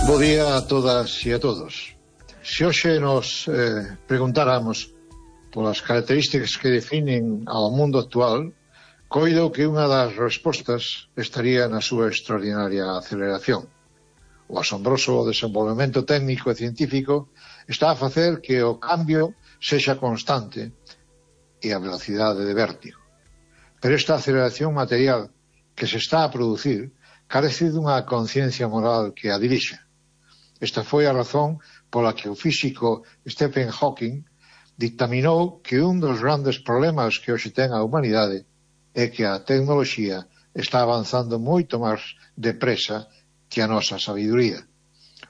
Bo día a todas e a todos. Se hoxe nos preguntáramos polas características que definen ao mundo actual, coido que unha das respostas estaría na súa extraordinaria aceleración. O asombroso desenvolvemento técnico e científico está a facer que o cambio sexa constante e a velocidade de vértigo. Pero esta aceleración material que se está a producir carece dunha conciencia moral que a dirixa. Esta foi a razón pola que o físico Stephen Hawking dictaminou que un dos grandes problemas que hoxe ten a humanidade é que a tecnoloxía está avanzando moito máis depresa que a nosa sabiduría.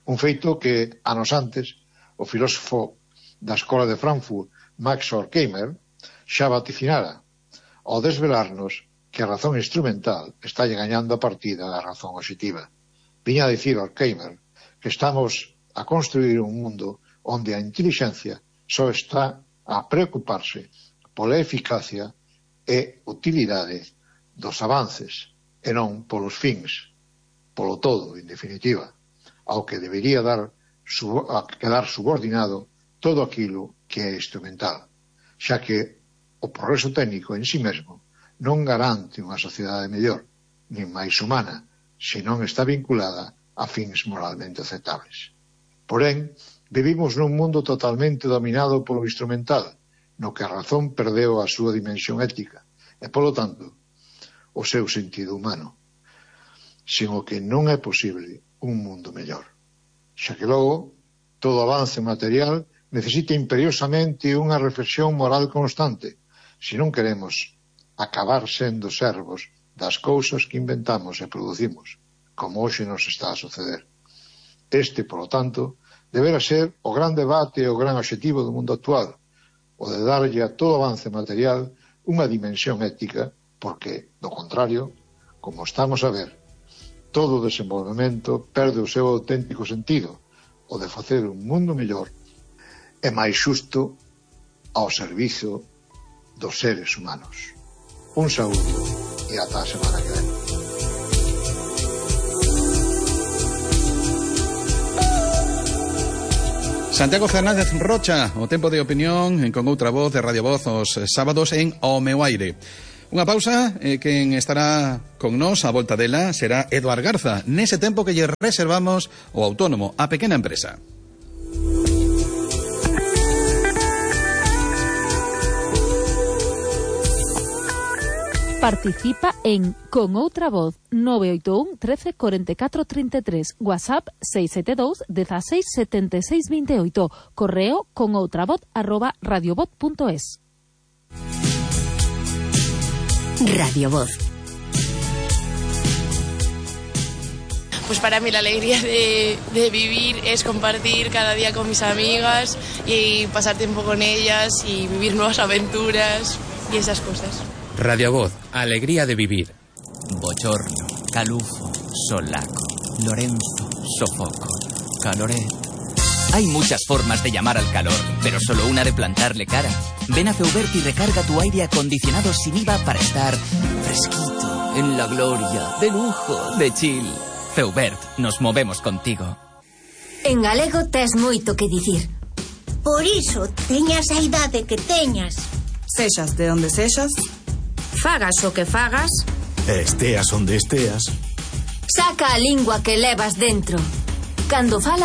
Un feito que, anos antes, o filósofo da Escola de Frankfurt, Max Horkheimer, xa vaticinara, ao desvelarnos que a razón instrumental está gañando a partida da razón obxectiva. Viña a dicir Horkheimer que estamos a construir un mundo onde a intelixencia só está a preocuparse pola eficacia e utilidade dos avances e non polos fins, polo todo, en definitiva, ao que debería quedar subordinado todo aquilo que é instrumental, xa que o progreso técnico en si mesmo non garante unha sociedade mellor, nin máis humana, se non está vinculada a fins moralmente aceptables. Porén, vivimos nun mundo totalmente dominado polo instrumental, no que a razón perdeu a súa dimensión ética e, polo tanto, o seu sentido humano, sen o que non é posible un mundo mellor. Xa que logo, todo avance material necesita imperiosamente unha reflexión moral constante, se non queremos acabar sendo servos das cousas que inventamos e producimos, como hoxe nos está a suceder. Este, polo tanto, deberá ser o gran debate e o gran obxectivo do mundo actual, o de darlle a todo avance material unha dimensión ética, porque, do contrario, como estamos a ver, todo desenvolvemento perde o seu auténtico sentido, o de facer un mundo mellor e máis xusto ao servizo dos seres humanos. Un saúdo e ata a semana que ven. Santiago Fernández Rocha, o tempo de opinión con outra voz de Radio Voz os sábados en O Meu Aire. Unha pausa, quen estará con nós a volta dela será Eduard Garza, nese tempo que lle reservamos o autónomo, a pequena empresa. Participa en Con Outra Voz 981 13 44 33, WhatsApp 672 16 76 28, correo conoutravoz@radiovoz.es. Radio Voz. Pues para mí la alegría de vivir es compartir cada día con mis amigas y pasar tiempo con ellas y vivir nuevas aventuras y esas cosas. Radio Voz, alegría de vivir. Bochorno, calufo, solaco, Lorenzo, sofoco, caloré. Hay muchas formas de llamar al calor, pero solo una de plantarle cara. Ven a Feubert y recarga tu aire acondicionado sin IVA para estar fresquito, en la gloria, de lujo, de chill. Feubert, nos movemos contigo. En galego tes moito que dicir. Por iso, teñas a idade que teñas. Sexas de onde sexas, fagas o que fagas, esteas onde esteas, saca a lingua que levas dentro. Cando falas